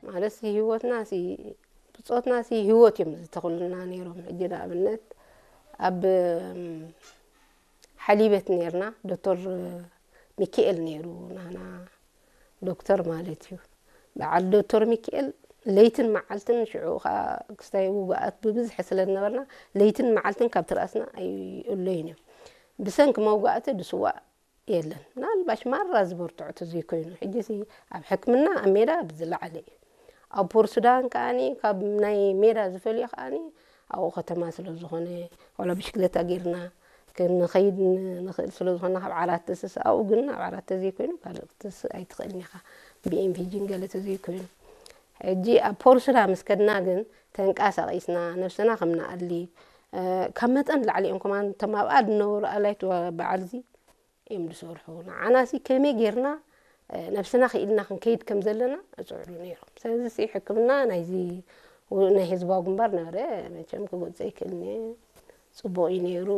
ማለት ሲ ህይወትና ሲ ብጾትና ሲ ህይወት እዮም ዝተኽሉና ነይሮም። ሕጂ ንኣብነት ኣብ ሓሊበት ነርና ዶክተር ሚኪኤል ነይሩ ናና ዶክተር ማለት እዩ። በዓል ዶክተር ሚኪኤል ለይትን መዓልትን ሽዑ ከዓ ክስታይ ውግኣት ብብዝሒ ስለ ዝነበርና ለይትን መዓልትን ካብ ትርኣስና ኣይእለዩን እዮም። ብሰንኪ መውጋእቲ ድስዋእ የለን። ምናልባሽ ማራ ዝበርትዖ ተዘይኮይኑ ሕጂ ሲ ኣብ ሕክምና ኣብ ሜዳ ብዝለዓለ እዩ። ኣብ ፖር ሱዳን ከዓኒ ካብ ናይ ሜዳ ዝፈልዮ ከዓኒ ኣብኡ ከተማ ስለ ዝኾነ ዋላ ብሽክለታ ጌርና ክንኸይድ ንኽእል ስለ ዝኾንና ካብ ዓራት ትስስ ኣብኡ ግን ኣብ ዓራት ተዘይኮይኑ ካልእ ክትስእ ኣይትኽእልን ኢኻ። ብኤምፒጂን ገለ ተዘይኮይኑ ሕጂ ኣብ ፖር ሱዳን ምስ ከድና ግን ተንቀሳቒስና ነብስና ከም ንኣሊ ካብ መጠን ላዕሊ እዮም ከማን እቶም ኣብኣ ዝነበሩ ኣላይት በዓልዚ እዮም ዝሰርሑ። ንዓናሲ ከመይ ጌርና ነብስና ክኢልና ክንከይድ ከም ዘለና እፅዕሩ ነይሮም። ስለዚ ሕክምና ናይዚ ናይ ህዝባዊ ግንባር ነበረ መቸም ክጎፀ ይክእልኒ ፅቡቅ እዩ ነይሩ።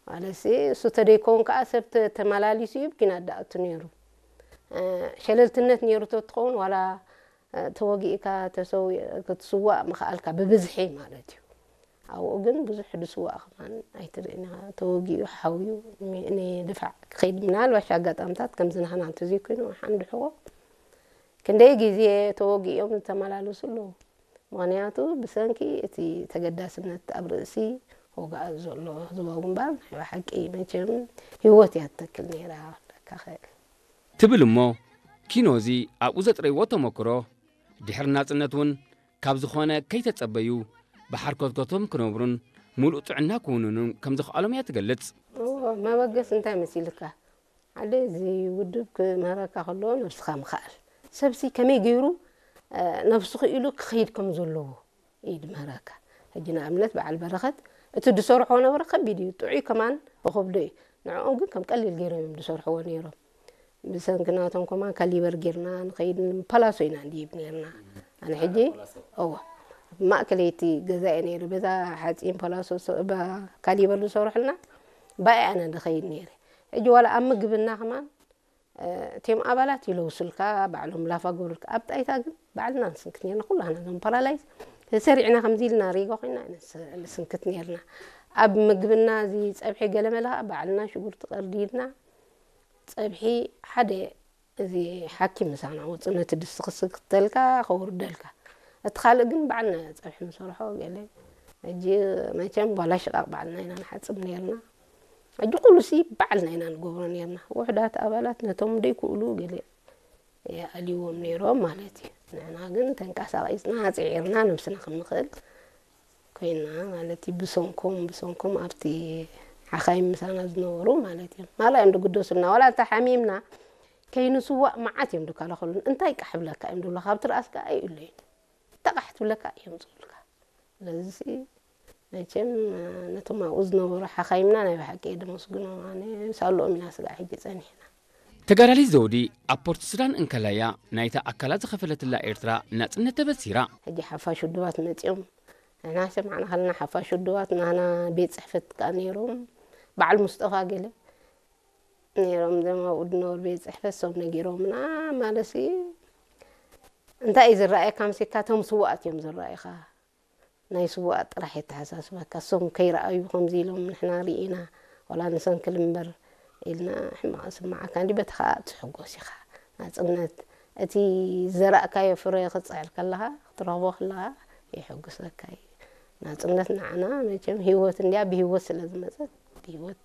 ማለትሲ እሱ ተደይከውን ከዓ ሰብ ተመላሊሱ እዩ ብኪናት ዳኣቱ ነይሩ። ሸለልትነት ነይሩ ተትኸውን ዋላ ተወጊእካ ተሰው ክትስዋእ ምኽኣልካ ብብዝሒ ማለት እዩ። ኣብኡ ግን ብዙሕ ድስዋእ ከማን ኣይትርእን ኢኻ። ተወጊኡ ሓውዩ ንድፋዕ ክኸይድ ምናልባሽ ኣጋጣምታት ከምዚ ናህና እንተዘይኮይኑ ሓንድሕዎ ክንደይ ግዜ ተወጊኦም ዝተመላለሱ ኣለዉ። ምኽንያቱ ብሰንኪ እቲ ተገዳስነት ኣብ ርእሲ ወግኣት ዘሎ ህዝባዊ ግንባር ናይ ብሓቂ መቸም ህይወት እያ ትተክል ነይራ ክብለካ እኽእል። ትብል እሞ ኪኖዚ ኣብኡ ዘጥረይዎ ተመክሮ ድሕሪ ናጽነት እውን ካብ ዝኾነ ከይተጸበዩ ብሓርኮትኮቶም ክነብሩን ምሉእ ጥዕና ክውንኑን ከም ዘኽኣሎም እያ ትገልጽ። እወ፣ መበገሲ እንታይ መሲልካ? ሓደ እዚ ውድብ ክምህረካ ከሎ ነብስኻ ምኽኣል። ሰብሲ ከመይ ገይሩ ነብሱ ክኢሉ ክኸይድ ከም ዘለዎ እዩ ድምህረካ። ሕጂ ንኣብነት በዓል በረኸት እቲ ድሰርሖ ነበረ ከቢድ እዩ፣ ጥዑይ ከማን እኸብዶ እዩ። ንዕኦም ግን ከም ቀሊል ገይሮም እዮም ድሰርሕዎ ነይሮም። ብሰንኪ ናቶም ከማን ካሊበር ጌርና ንኸይድ ፓላሶ ኢና ንድይብ ነርና። ኣነ ሕጂ እወ ማእከለይቲ ገዛ እየ ነይረ። በዛ ሓፂን ፓላሶ ካሊበር ዝሰርሑልና ባይ ኣነ ድኸይድ ነይረ። ሕጂ ዋላ ኣብ ምግብና ከማን እቲም ኣባላት ይለውሱልካ ባዕሎም ላፋ ገብሩልካ። ኣብ ጣይታ ግን ባዕልና ንስንክት ነርና ኩላና ዞም ፓራላይዝ ተሰሪዕና ከምዚ ኢልና ሪጎ ኮይና ንስንክት ነርና። ኣብ ምግብና እዚ ፀብሒ ገለመለ ከዓ ባዕልና ሽጉርቲ ቀርዲድና ፀብሒ ሓደ እዚ ሓኪም ምሳና ውፁ ነቲ ድስቲ ክስክተልካ ከውርደልካ እቲ ካልእ ግን ባዕልና ፀብሒ ንሰርሖ ገለ ሕጂ መቸም ጓላ ሽቃቅ ባዕልና ኢና ንሓፅብ ነርና። ሕጂ ኩሉ ሲ ባዕልና ኢና ንገብሮ ነርና። ውሕዳት ኣባላት ነቶም ደይክእሉ ገለ የኣልይዎም ነይሮም ማለት እዩ። ንሕና ግን ተንቀሳቒስና ኣፅዒርና ነብስና ከም ንኽእል ኮይና ማለት እዩ። ብሰንኮም ብሰንኮም ኣብቲ ሓኻይም ምሳና ዝነበሩ ማለት እዮም ማላ እዮም ድግደሱልና። ዋላ እንተ ሓሚምና ከይንስዋእ መዓት እዮም ድከላኸሉን። እንታይ ቃሕ ብለካ እዮም ድብሉኻ። ኣብቲ ርኣስካ ኣይእለዩን። ተቓሕ ትብለካ እዮም ዝብሉካ። ስለዚ መቸም ነቶም ኣብኡ ዝነበሩ ሓኻይምና ናይ ብሓቂ እየ ደመስግኖም። ኣነ ሳልኦም ኢና ስጋዕ ሕጂ ጸኒሕና። ተጋዳሊት ዘውዲ ኣብ ፖርት ሱዳን እንከላያ ናይታ ኣካላ ዝኸፈለትላ ኤርትራ ናጽነት ተበሲራ። ሕጂ ሓፋሽ ውድባት መጺኦም ንሕና ሰማዕና ከለና ሓፋሽ ውድባት ናህና ቤት ጽሕፈት ከኣ ነይሮም በዓል ሙስጠፋ ገለ ነይሮም ዘም ኣብኡ ድነበሩ ቤት ጽሕፈት ሶም ነጊሮምና ማለሲ እንታይ እዩ ዝረኣየካ ምሴካ እቶም ስዋኣት እዮም ዝረኣዩኻ ናይ ስዋኣት ጥራሕ የተሓሳስበካ እሶም ከይረኣዩ ከምዚ ኢሎም ንሕና ርኢና ዋላ ንሰንክል እምበር ኢልና ሕማቕ ስማዓካ እንዲ በቲ ከዓ ትሕጎስ ኢኻ ናፅነት እቲ ዘራእካዮ ፍረ ክፅዕር ከለኻ ክትረኽቦ ከለኻ የሐጉሰካ እዩ ናፅነት ንዓና መቸም ህይወት እንዲያ ብህይወት ስለ ዝመፀት ብህይወት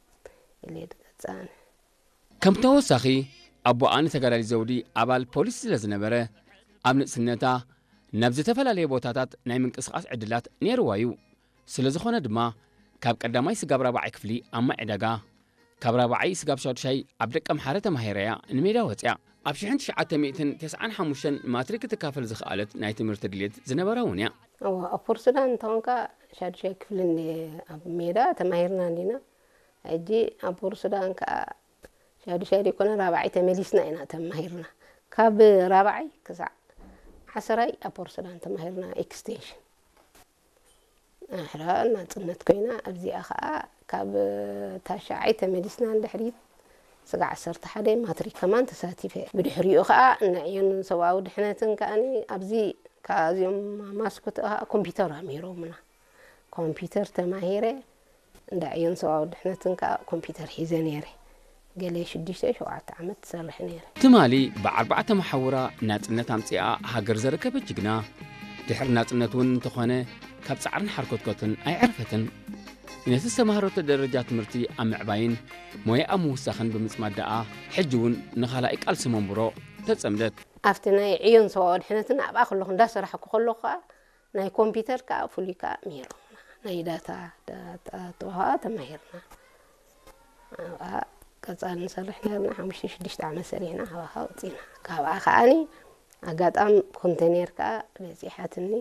ከም ተወሳኺ ኣቦኣ ንተጋዳሊት ዘውዲ ኣባል ፖሊስ ስለ ዝነበረ ኣብ ንእስነታ ናብ ዝተፈላለየ ቦታታት ናይ ምንቅስቓስ ዕድላት ነይርዋ እዩ። ስለ ዝኾነ ድማ ካብ ቀዳማይ ስጋብ ራብዓይ ክፍሊ ኣብ ማይ ዕዳጋ፣ ካብ ራብዓይ ስጋብ ሻዱሻይ ኣብ ደቀምሓረ ተማሂራ እያ ንሜዳ ወፂኣ። ኣብ ሽሕን ትሽዓተ ሚእትን ተስዓን ሓሙሽተን ማትሪክ ክትካፈል ዝኸኣለት ናይ ትምህርቲ ድሌት ዝነበራ እውን እያ። እዋ ኣብ ፖርት ሱዳን እንተኾንካ ሻዱሻይ ክፍሊ እንድየ ኣብ ሜዳ ተማሂርና እንዲና። ሕጂ ኣብ ፖርት ሱዳን ከዓ ሻዱሻይ ዘይኮነ ራብዓይ ተመሊስና ኢና ተማሂርና። ካብ ራብዓይ ክሳዕ ዓሰራይ ኣብ ፖርት ሱዳን ተማሂርና ኤክስቴንሽን። ኣሕራ ናፅነት ኮይና ኣብዚኣ ከዓ ካብ ታሽዓይ ተመሊስና ንድሕሪት ስጋዕ ዓሰርተ ሓደ ማትሪክ ከማን ተሳቲፈ። ብድሕሪኡ ከዓ ንዕዮን ሰብኣዊ ድሕነትን ከዓኒ ኣብዚ ካብዚኦም ማስኮት ከዓ ኮምፒውተር ኣምሂሮምና። ኮምፒውተር ተማሂረ፣ እንዳ ዕዮን ሰብኣዊ ድሕነትን ከዓ ኮምፒውተር ሒዘ ነይረ። ገለ ሽዱሽተ ሸውዓተ ዓመት ትሰርሕ ነይረ። ትማሊ ብኣርባዕተ መሓውራ ናጽነት ኣምጺኣ ሃገር ዘረከበት ጅግና፣ ድሕሪ ናጽነት እውን እንተኾነ ካብ ጻዕርን ሓርኮትኮትን ኣይዕረፈትን። ነቲ ዝተማህረቶ ደረጃ ትምህርቲ ኣብ ምዕባይን ሞያ ኣብ ምውሳኽን ብምጽማድ ደኣ ሕጂ እውን ንኻልኣይ ቃልሲ መንብሮ ተጸምደት። ኣብቲ ናይ ዕዮን ሰብኣዊ ድሕነትን ኣብኣ ከለኹ እንዳሰራሕኩ ከለኹ ከዓ ናይ ኮምፒውተር ከዓ ፍሉይ ከዓ ምሂሮምና። ናይ ዳታ ዳታ ተዋሃ ተማሂርና። ኣብኣ ቀጻሊ ንሰርሕ ነርና ሓሙሽተ ሽዱሽተ ዓመት ሰሪሕና ካብኣ ከዓ ወፂና። ካብኣ ከዓኒ ኣጋጣም ኮንቴኔር ከዓ በፂሓትኒ።